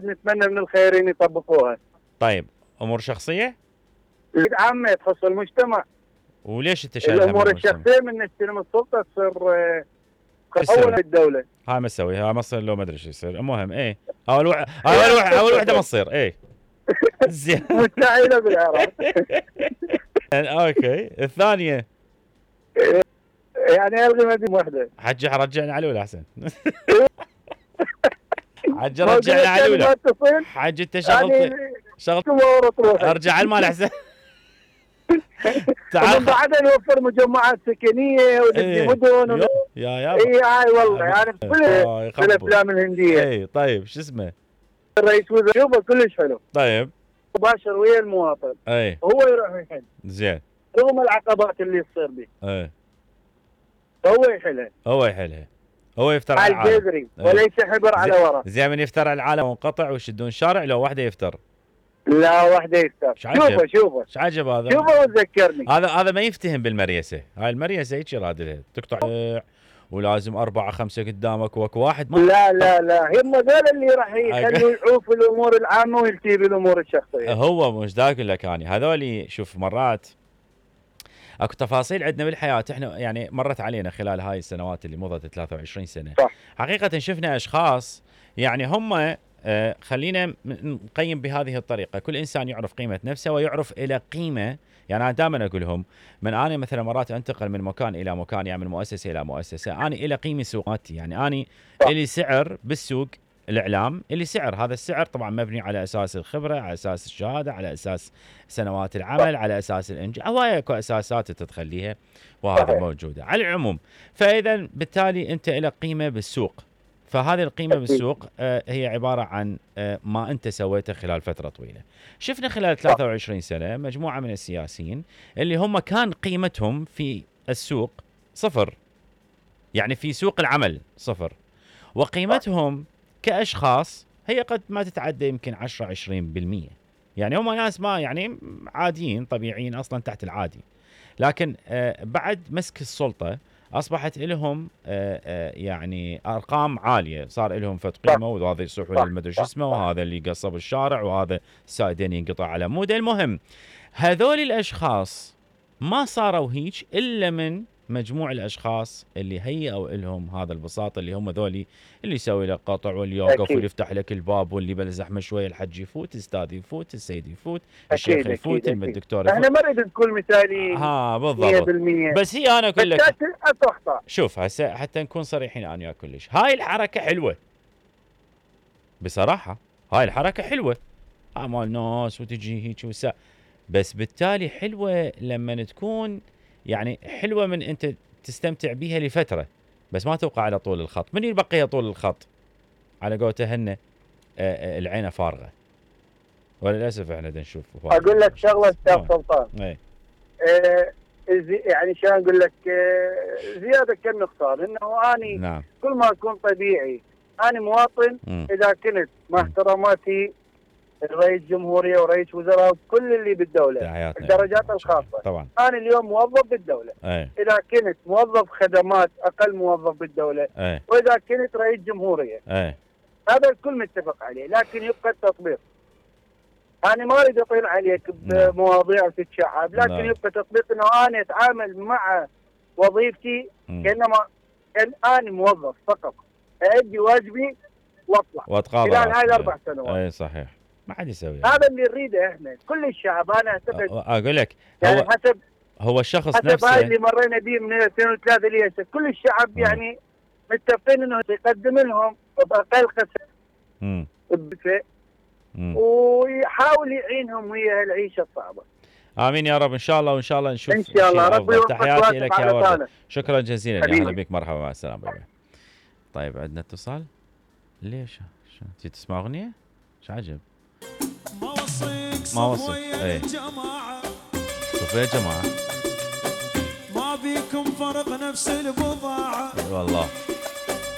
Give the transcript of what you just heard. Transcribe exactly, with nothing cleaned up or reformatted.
نتمنى من الخيرين يطبقوها. طيب امور شخصيه؟ عامه تخص المجتمع. وليش انت شايلها؟ الامور الشخصيه من نستلم السلطه تصير اولا بالدوله. هاي ما تسوي، هاي ما تصير، لو ما ادري ايش يصير. المهم ايه اول وح... اول وح... اول وحده ما تصير. ايه زين مستحيله بالعراق. اوكي الثانيه يعني الغي مدينه واحده. حج رجعنا على الاولى احسن. حج رجعنا على الاولى. حج انت شغلت شغلت ارجع على المال احسن. تعال بعدين نوفر مجمعات سكنيه ونبني مدن ون... يا يا اي هاي والله يعني في الافلام الهنديه. اي طيب شو اسمه؟ الرئيس وزراء شوفه كلش حلو. طيب مباشر ويا المواطن. اي هو يروح يحل. زين. رغم العقبات اللي تصير به. اي هو يحلها. هو يحلها. هو يفتر على العالم. الجذري وليس حبر على ورق. زين من يفتر على العالم وانقطع ويشدون شارع لو واحده يفتر. لا واحده يفتر. شوفه شوفه. ايش عجب هذا؟ شوفه وتذكرني. هذا هذا ما يفتهم بالمريسه، هاي المريسه هيك رادلها تقطع ولازم أربعة خمسة قدامك واكو واحد ما. لا لا لا هم ذول اللي راح يخلوا يعوف الامور العامه ويلتهي بالامور الشخصيه. هو مش ذاك لك اني هذول شوف مرات اكو تفاصيل عندنا بالحياه احنا يعني مرت علينا خلال هاي السنوات اللي مضت ثلاثة وعشرين سنه. صح. حقيقه شفنا اشخاص يعني هم آه خلينا نقيم بهذه الطريقه، كل انسان يعرف قيمه نفسه ويعرف الى قيمه. يعني انا دائما اقول لهم من انا مثلا مرات انتقل من مكان الى مكان، يعني من مؤسسه الى مؤسسه، انا الى قيمه سوقاتي، يعني اني الي سعر بالسوق الاعلام، اللي سعر هذا السعر طبعا مبني على اساس الخبره، على اساس الشهاده، على اساس سنوات العمل، على اساس الانجاز، هوايه اكو اساسات تتخليها وهذا موجوده على العموم. فاذا بالتالي انت الى قيمه بالسوق، فهذه القيمه بالسوق آه هي عباره عن آه ما انت سويته خلال فتره طويله. شفنا خلال ثلاثة وعشرين سنه مجموعه من السياسيين اللي هم كان قيمتهم في السوق صفر، يعني في سوق العمل صفر، وقيمتهم كأشخاص هي قد ما تتعدى يمكن عشرة عشرين بالمئة. يعني هم ناس ما يعني عاديين طبيعيين أصلا تحت العادي، لكن آه بعد مسك السلطة أصبحت لهم آه آه يعني أرقام عالية، صار لهم فد قيمة، وهذا يصيحوا للمدري شو اسمه، وهذا اللي قصب الشارع، وهذا السائدين ينقطع على موده. المهم هذول الأشخاص ما صاروا هيك إلا من مجموع الاشخاص اللي هيئوا لهم هذا البساط، اللي هم ذولي اللي يسوي لك قطع واللي يوقف واللي يفتح لك الباب واللي بلا زحمه شويه الحج يفوت، الاستاذ يفوت، السيد يفوت، الشيخ يفوت، الدكتور يفوت. احنا ما نريد نكون مثاليين ها بالضبط مية بالمية. بس هي انا اقول لك شوف هسه حتى نكون صريحين انا وياك كلش، هاي الحركه حلوه بصراحه، هاي الحركه حلوه اعمال ناس وتجي هيك وسا، بس بالتالي حلوه لما تكون يعني حلوة من أنت تستمتع بها لفترة، بس ما تبقى على طول الخط. من يبقى طول الخط على قولته هن العين فارغة، وللأسف احنا نشوف. أقول لك شغلة أستاذ سلطان، ايه آه يعني شو أقول لك آه زيادة كالنقصان، إنه أني نعم. كل ما أكون طبيعي أنا مواطن م. إذا كنت مع احتراماتي رئيس جمهورية ورئيس وزراء وكل اللي بالدولة الدرجات الخاصة طبعا. أنا اليوم موظف بالدولة أي. إذا كنت موظف خدمات أقل موظف بالدولة أي. وإذا كنت رئيس جمهورية أي. هذا الكل متفق عليه، لكن يبقى التطبيق. أنا ما أريد أطيل عليك بمواضيع تتشعب، لكن نعم. يبقى تطبيق إنه أنا أتعامل مع وظيفتي م. كأنما كان أنا موظف فقط، أؤدي واجبي وأطلع وأتقاضى خلال هاي الأربع سنوات. أي صحيح. ما حد يسوي هذا اللي نريده احنا كل الشعب. انا اعتقد اقول لك يعني هو حسب هو الشخص حسب نفسه هاي اللي مرينا به من ألفين وثلاثة لهسه كل الشعب م. يعني متفقين انه يقدم لهم باقل خسائر بدفع ويحاول يعينهم ويا العيشه الصعبه. امين يا رب ان شاء الله، وان شاء الله نشوف ان شاء الله. ربي يوفقك. تحياتي لك يا ورد، شكرا جزيلا، اهلا بك، مرحبا، مع السلامه. بابا. طيب عندنا اتصال. ليش شو تي تسمع اغنيه؟ ايش عجب ما وصيك ما وصيك ايه شوف يا جماعه ما بيكم فرق نفس البضاعه والله.